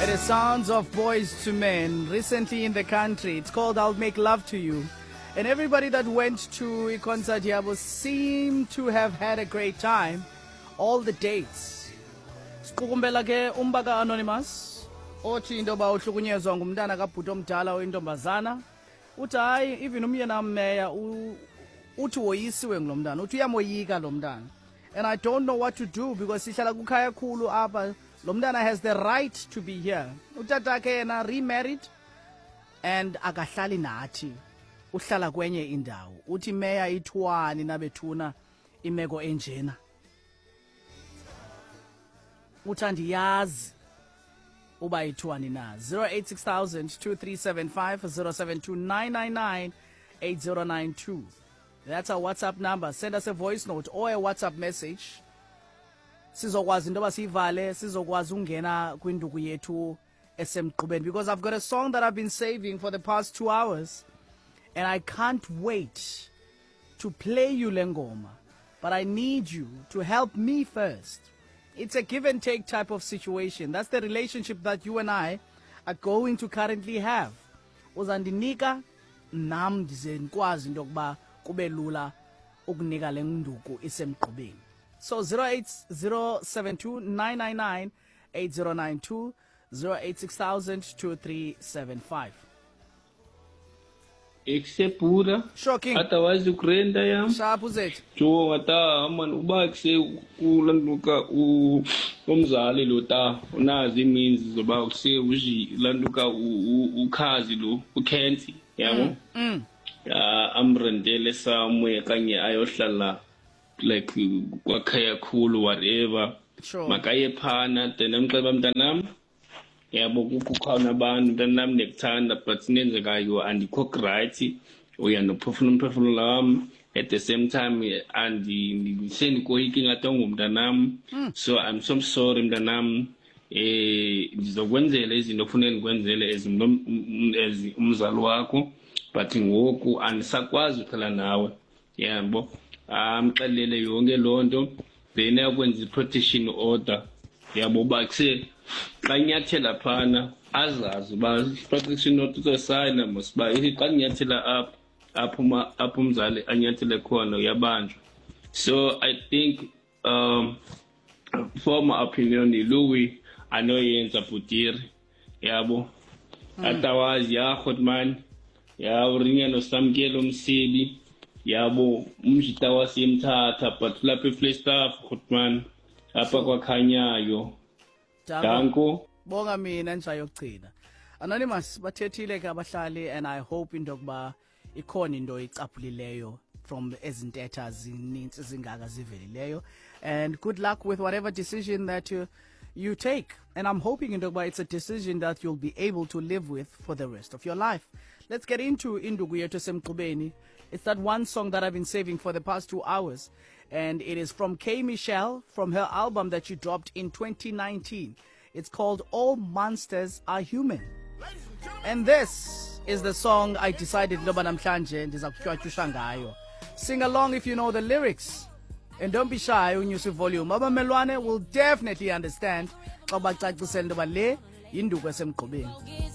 It is Sounds of Boys to Men, recently in the country. It's called I'll Make Love to You. And everybody that went to a concert here seemed to have had a great time. All the dates. Siqukumbela ke umba ka-Anonymous othi into yoba uhlukunyezwa ngumntana kabhuti omdala oyintombazana. Uthi hayi, even umyena mmeya uthi woyisiwe ngulo mntana, uthi uyamoyika lo mntana. And I don't know what to do because sihlala kukhaya khulu apha. Lo mntana has the right to be here. Utatakhe yena remarried and akahlali nathi, uhlala kwenye indawo. Uthi meya ithwani nabethuna imeko enjena? Uthi andiyazi uba ithiwani na. 086 2375 072 8092. That's our WhatsApp number. Send us a voice note or a WhatsApp message, sizokwazi into yoba siyivale, sizokwazi ungena kwinduku yethu esemgqubeni, because I've got a song that I've been saving for the past 2 hours and I can't wait to play you le ngoma, but I need you to help me first. It's a give and take type of situation. That's the relationship that you and I are going to currently have. Uzandinika nam ndize ndikwazi into yokuba kube lula ukunika le nduku isemgqubeni. So 08072 999 8092, 086 2375. Ekusebhura. Shocking. Otherwise ukurenda yam. Sharp, uzethu. Jonga ta man, uba kuse kulantuka umzali lo ta unazo imeans zoba kuse uji lantuka ukhazi lo ukhensi yabo, ya amrentele somewhere kanye ayohlala like kwakhaya khulu, whatever. Makaye phana, then amxeba, mntanam, yabo, kukhona abantu, mntanam, ndikuthanda, but nenzekayo andikho right, uyanophefumula umphefumulo wam, at the same time andisendikoyika ingathi ungumntanam, so I'm so sorry, mntanam, ndizokwenzela izinto okufuneka ndikwenzele as as umzali wakho, but ngoku andisakwazi uhlala nawe, yabo. Amxelele yonke loo nto, then yakwenza i-protection order, yabo, uba kuse xa inyathela phana azazi uba i-protection order uzosayina mos uba ithi xa ndinyathela apha, apho umzali anyathele khona uyabanjwa. So I think, for my opinion, yiluwi anoyenza bhutiri, yabo. Otherwise ya man, ya urinya nosamkelo umsibi, yabo, umjita wasemthatha, but lapha eFlagstaff man, apha kwakhanyayo. Danko. Danko. Bonga mina nja yokugcina. Anonymous, bathethile ke abahlali and I hope into yokuba ikhona into icaphulileyo from ezintetha zininzi zingaka zivelileyo, and good luck with whatever decision that you take, and I'm hoping into yokuba it's a decision that you'll be able to live with for the rest of your life. Let's get into induku yethu esemgqubeni. It's that one song that I've been saving for the past 2 hours, and it is from K Michelle, from her album that she dropped in 2019. It's called All Monsters Are Human. And this is the song I decided loba namhlanje ndiza kutywatyusha ngayo. Sing along if you know the lyrics. And don't be shy unyusa volume. Abamelwane will definitely understand xa ubacacisela into yoba le yinduku esemgqubeni.